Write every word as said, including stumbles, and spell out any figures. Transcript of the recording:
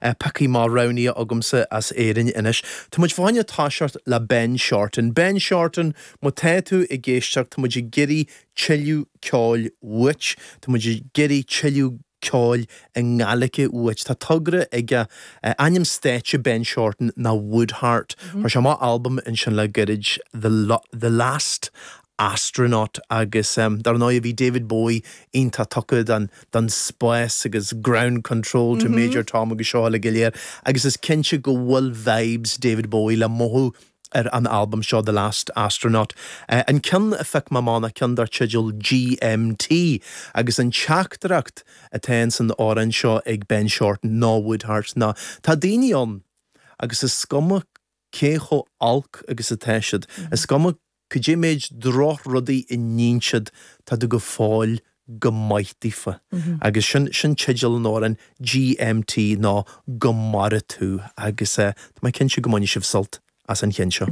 pioctha mar roghnaithe agamsa as Éirinn anois. Tá muid fá choinne toiseacht le Ben Shorten. Ben Shorten, má tá tú ag éisteacht, tá muid ag iarraidh tuilleadh ceoil uait, Tá muid ag iarraidh tuilleadh ceoil i nGaeilge uait. Tá togra aige ainm stáitse Ben Shorten ná Woodheart. Chuir sé amach albam ansin le gairid the, the Last Astronaut agus um, dar ndóigh bhí David Bowie iontach tugtha don, don spás agus ground control to mm -hmm. Major Tom agus seo le go léir agus is cinnte go bhfuil vibes David Bowie le mothú ar an albam seo The Last Astronaut. Uh, an ceann a phioc mé ná ceann dar teideal GMT agus an teachtaireacht atá san amhrán seo ag Ben Shorten ná Woodheart ná tá daoine ann agus is cuma cé chomh olc agus atá siad. Mm -hmm. Is cuma cad é méid drochrudaí a dhéanann siad tá tú go fóill go maith daofa. Mm -hmm. Agus sin sin teideal an amhráin GMT ná go maire tú agus uh, Tá mé cinnte go mbainfidh sibh sult as an cheann seo.